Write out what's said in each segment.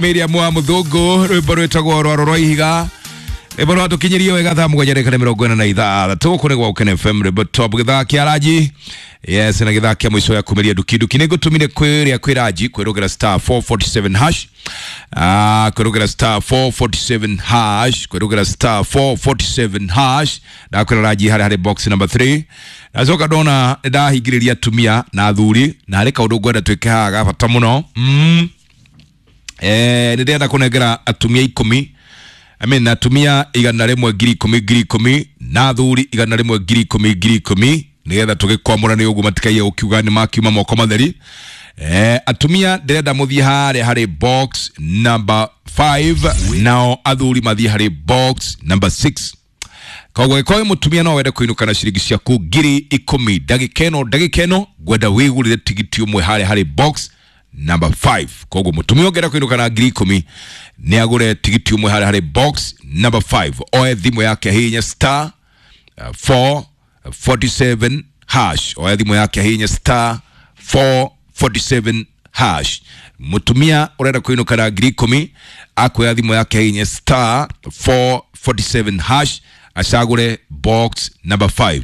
Miriam wa Muthungu rwimbo rwitagwo Rwaro rwa Ihiga, rwimbo rwatũkinyirie wega thaa 7:46 kũrĩ gwa Ũkene FM, rwimbo top gĩthaa kĩa Raji. Yes, na gĩthaa kĩa mũico ya kumĩria nduki nduki nĩ ngũtũmire kwĩrĩa kwĩ Raji kwĩrũgĩra star 447 hash, kwĩrũgĩra star 447 hash, kwĩrũgĩra star 447 hash. Ndakwĩra Raji harĩa harĩ box number 3. Ndacoka ndona nĩndahingĩrĩria atumia na athuri, na harĩ kaũndũ ngwenda twĩke haha ga bata mũno. Nĩ ndĩrenda kũnengera atumia 10, I mean, atumia 100 10,000 10,000 na athuri 100 10,000 10,000, nĩgetha tũgĩkwamũra nĩ ũguo matikaiye gũkiuga nĩ makiuma moko matheri. Atumia ndĩrenda mũthiĩ harĩa harĩ box number 5, nao athuri mathiĩ harĩ box number 6. Koguo gĩkorwo mũtumia no wende kũinũka na ciringi ciaku 10,000 ndagĩka ĩno, ndagĩka ĩno ngwenda wĩgũrĩre tigiti ũmwe harĩa harĩ box number 5. Koguo mũtumia ũngĩenda kũinũka na 10,000 nĩ agũre tigiti ũmwe harĩa harĩ box number 5, oe thimũ yake hinya star 447 hash, oe thimũ yake hinya star 447 hash. Mũtumia ũrenda kũinũka na 10,000 akuoya thimũ yake hinya star 447 hash, acagũre box number 5.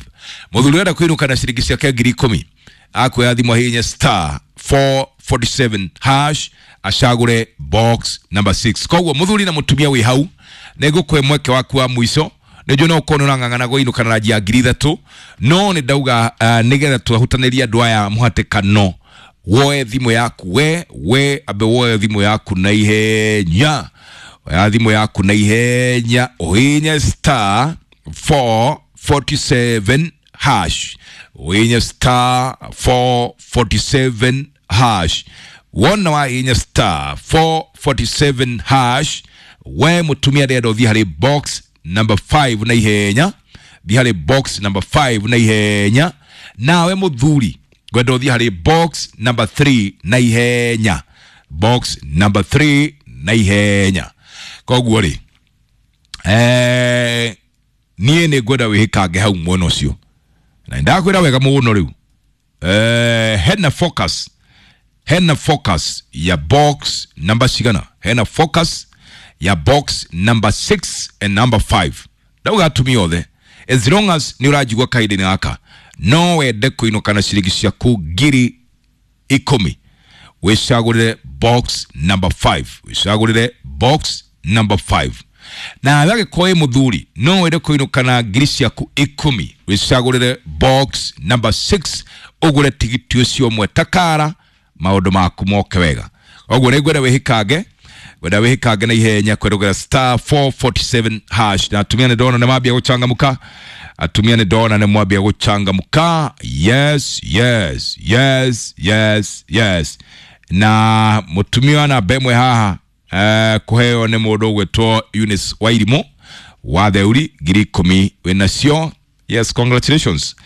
Mũthuri ũrenda kũinũka na ciringi ciake 10,000 akuoya thimũ ahihinye star 447 hash, acagũre box number 6. Koguo mũthuri na mũtumia wĩ hau nĩ ngũkũhe mweke waku wa mũico. Nĩ no ũkorwo nĩ ũrang'ang'ana kũinũka na ranji ya 3,000, no nĩ ndauga nĩgetha tũhutanĩrie andũ aya mũhatĩkano, woe thimũ yaku we ambe woe thimũ yaku na ihenya, oya thimũ yaku na ihenya ũhinye star 447 hash, ũhinye star 447 hash. Wona wahinya star 447 hash, we mũtumia ndĩrenda ũthiĩ harĩ box number 5 na ihenya, thiĩ harĩ box number 5 na ihenya. Nawe mũthuri ngwenda ũthiĩ harĩ box number 3 na ihenya, box number 3 na ihenya. Koguo rĩ, niĩ nĩ ngwenda wĩhĩkange hau mwena ũcio, na ndakwĩra wega mũno rĩu. Hena focus, hena focus ya box number cigana, hena focus ya box number 6 and number 5. Ndauga atumia othe, as long as nĩ ũranjigua kahinda-inĩ gaka, no wende kũinũka na ciringi ciaku 10,000, wĩcagũrĩre box number 5, wĩcagũrĩre box number 5. Na agĩkorwo wĩ mũthuri no wende kũinũka na ngiri ciaku 10, wĩcagũrĩre box number 6, ũgũre tigiti ũcio ũmwe takara, maũndũ maku moke wega. Koguo nĩ ngwenda wĩhĩkange, ngwenda wĩhĩkange na ihenya kwerũgĩra star 447 hash. Na atumia nĩ ndona nĩ mambia gũchangamũka, atumia nĩ ndona nĩ mwambia gũchangamũka. Yes, yes, yes, yes, yes. Na mũtumia wa namba ĩmwe haha kũheo nĩ mũndũ ũgwĩtwo Eunice Wairimu wa Theuri, 10,000 wĩnacio. Yes, congratulations.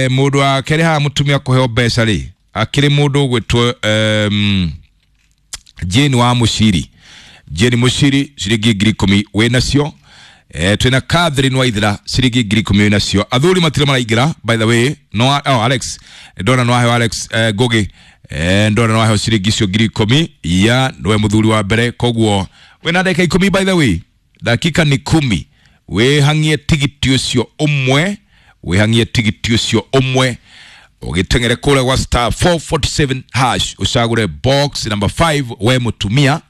Mũndũ wa kerĩ haha mũtumia kũheo mbeca rĩ, akĩrĩ mũndũ ũgwĩtwo Jane wa Mushiri, Jane Mushiri, ciringi 10,000 wĩnacio. Twĩna Catherine Waithera, ciringi 10,000 wĩnacio. Athuri matirĩ maraingĩra, by the way. No, oh, Alex ndona no aheo Alex Ngugi, ndona no aheo ciringi icio 10,000 ya nĩwe mũthuri wa mbere. Koguo wĩna ndagĩka 10, by the way, dakika ni 10, wĩhang'ie tigiti ũcio ũmwe, wĩhang'ie tigiti ũcio ũmwe, ũgĩteng'ere kũrĩa gwa star 447 hash, ũcagũre box number 5 we mũtumia.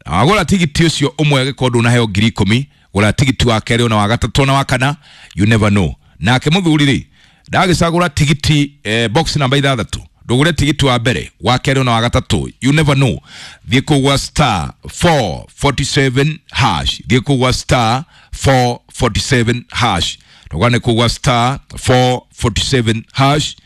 Na wagũra tigiti ũcio ũmwe, agĩkorwo ndũnaheo 10,000, gũra tigiti wa kerĩ ona wa gatatũ na wa kana, you never know. Nake mũthuri rĩ, ndagĩcagũra tigiti box namba 6, ndũgũre tigiti wa mbere, wa kerĩ ona wa gatatũ, you never know. Thiĩ kũu gwa star 447 hash, thiĩ kũu gwa star 447 hash, ndũgane kũu gwa star 447 hash,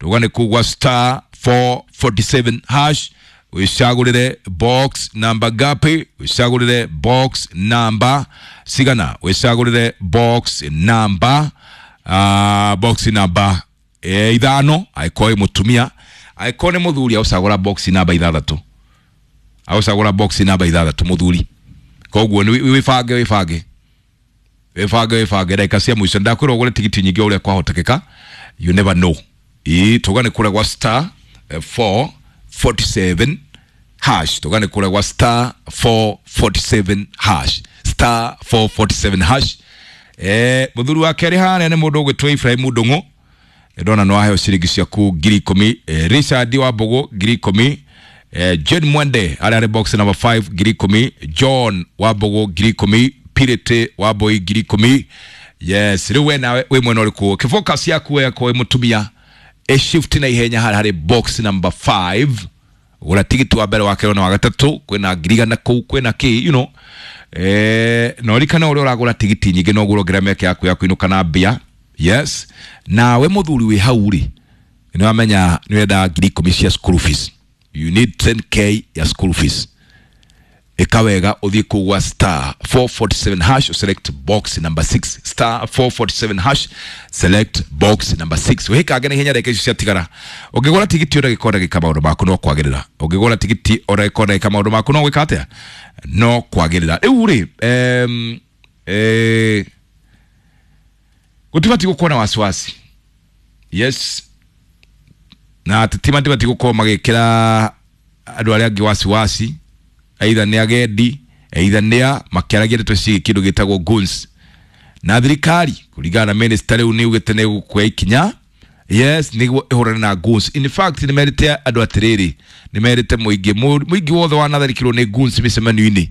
ndũgane kũu gwa star 447 hash, wĩcagũrĩre box number ngapi, wĩcagũrĩre box number cigana, wĩcagũrĩre box number box number 5, angĩkorwo wĩ mũtumia. Angĩkorwo nĩ mũthuri agũcagũra box number 6, agũcagũra box number 6 mũthuri. Koguo nĩ wĩbange, wĩbange, wĩbange, wĩbange ndagĩka cia mũico. Ndakwĩra ũgũre tigiti nyingĩ ũrĩa kwahotekeka, you never know. Ĩĩ, tũgane kũrĩa gwa star 447 hash. Tugane kule kwa star 447 hash, star 447 hash. Muthuri wa kerĩ harĩa nĩ mũndũ ũgwĩtwo Ibrahim Ndung'u, ndona no aheo ciringi ciaku 10,000. Richard wa Mbogo 10,000. Jane Mwende arĩa arĩ box number 5 10,000. John wa Mbogo 10,000. Pirete wa Mboi 10,000. Yes, rĩu we nawe wĩ mwena ũrĩkũ? Kĩfocus yaku yakwo wĩ mũtumia ĩ shift na ihenya harĩa harĩ box number 5. Gũra tigiti wa mbere, wa kerĩ na wa gatatũ, kwĩna 100,000 kũu, kwĩna kĩ, you know. Na ũririkane ũrĩa ũragũra tigiti nyingĩ noguo ũrongerera mĩeke yaku ya kũinũka na mbia. Yes, nawe mũthuri wĩ hau rĩ, nĩ wamenya nĩ ũrenda 10,000 cia school fees, you need 10K ya school fees. Ĩka wega ũthiĩ kũu gwa star 447 hash, select box number 6, star 447 hash, select box number 6. Wĩkange na ihenya ndagĩka icio ciatigara. Ũngĩgũra tigiti o ndagĩka o ndagĩka maũndũ maku no kwagĩrĩra. Ũngĩgũra tigiti o ndagĩka o ndagĩka maũndũ maku no gwĩka atĩa? No kwagĩrĩra. Rĩu rĩ, gũtibatiĩ gũkorwo na wasiwasi. Yes, na ateti matibatiĩ gũkorwo magĩkĩra andũ arĩa angĩ wasiwasi, either nĩ agendi, either nĩ a makĩaragia ndeto ciĩgiĩ kĩndũ gĩtagwo goons. Na thirikari kũringana na minister rĩu nĩ ugĩte nĩ gũkuoya ikinya, yes, nĩguo ĩhũrane na goons. In fact, nĩ merĩte andũ atĩrĩrĩ, nĩ merĩte mũingĩ, mũingĩ wothe wanatharĩkĩrwo nĩ goons mĩcemanio-inĩ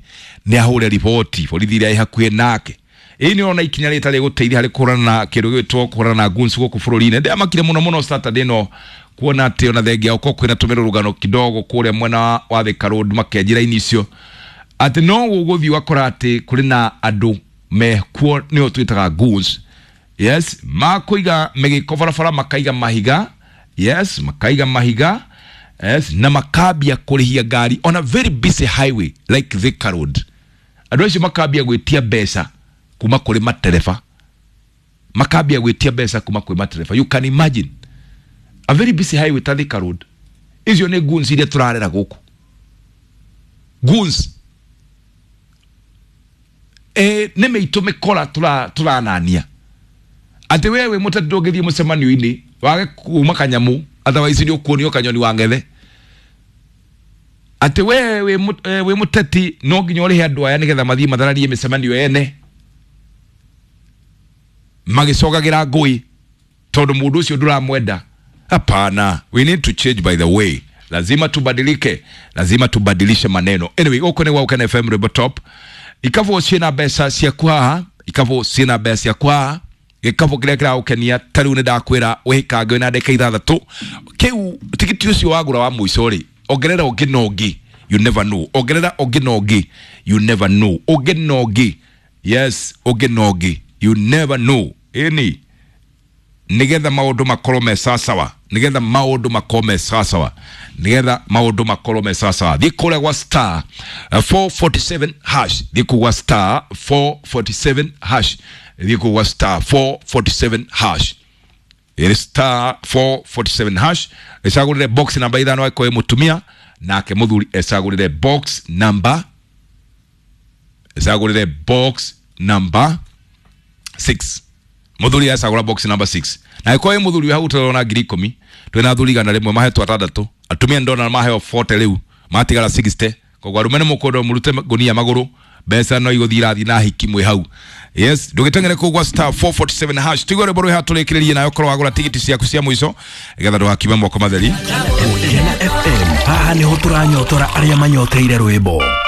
nĩ ahũre riboti borithi ĩrĩa ĩ hakuhĩ nake. Ĩĩ, nĩ ũrona ikinya rĩtarĩ gũteithia harĩ kũhũrana na kĩndũ gĩgwĩtwo kũhũrana na goons gũkũ bũrũri-inĩ. Ndĩamakire mũno mũno Saturday ĩno kuona atĩ ona thengia gũkorwo kwĩna tũmĩrũrũngano kidogo kũrĩa mwena wa Thika Road makĩanjia raini icio, atĩ no gũgũthiĩ ũgakora atĩ kũrĩ na andũ mekuo nĩo twĩtaga goons. Yes, makũiga mĩgĩko barabara, makaiga mahiga, yes, makaiga mahiga, yes, na makambia kũrĩhia ngari on a very busy highway like Thika Road. Andũ acio makambia gwĩtia mbeca kuma kũrĩ matereba, makambia gwĩtia mbeca kuma kũrĩ matereba. You can imagine a very busy highway ta Thika Road. Icio nĩ goons iria tũrarera gũkũ, goons nĩ mĩitũ mĩkora tũranania atĩ we wĩ mũteti ndũngĩthiĩ mũcemanio-inĩ wage kuma kanyamũ, otherwise nĩ ũkuonio kanyoni wa ng'ethe, atĩ we wĩ mũteti no nginya ũrĩhe andũ aya nĩgetha mathiĩ mathararie mĩcemanio ene magĩcogagĩra ngũĩ tondũ mũndũ ũcio ndũramwenda. Hapana, we need to change, by the way. Lazima tubadilike, lazima tubadilishe maneno. Anyway, gũkũ nĩ gwa Gũkena FM, Rwĩmbo Top. Ikabũ ciĩna mbeca ciaku haha, ikabũ ciĩna mbeca ciaku haha, gĩkabũ kĩrĩa kĩragũkenia ta rĩu nĩ ndakwĩra wĩkange wĩna ndagĩka 6 kĩu tigiti ũcio wagũra wa mũico rĩ, ongerera ũngĩ na ũngĩ, you never know. Ongerera ũngĩ na ũngĩ, you never know. Ũngĩ na ũngĩ, yes, ũngĩ na ũngĩ, you never know. Ĩni nigetha maũndũ makorwo me sawasawa, nigetha maũndũ makorwo me sawasawa, nigetha maũndũ makorwo me sawasawa, thiĩ kũrĩa gwa star 447 hash, thiĩ kũu gwa star 447 hash, thiĩ kũu gwa star 447 hash. Ĩrĩ star 447 hash, ĩcagũrĩre box namba 5 angĩkorwo wĩ mũtumia, nake mũthuri ecagũrĩre box number, ecagũrĩre box number 6. Muthuri acagũra box number 6, na ĩkorwo ĩ mũthuri wĩ hau tũrona 10,000. Twĩna athuri 100 mahetwo 6, atumia ndona maheo 40, rĩu matigara 60. Koguo arũme nĩ mũkwendwo mũrute ngũnia magũrũ, mbeca no igũthiĩ irathiĩ na hiki mwĩ hau. Yes, ndũgĩteng'ere kũu gwa star 447 hash. Tũigue rwĩmbo rwĩ haha tũrĩkĩrĩrie nayo, korwo wagũra tigiti ciaku cia mũico nĩgetha ndũgakiume moko matheri. Gũkena FM, haha nĩho tũranyotora arĩa manyoteire rwĩmbo.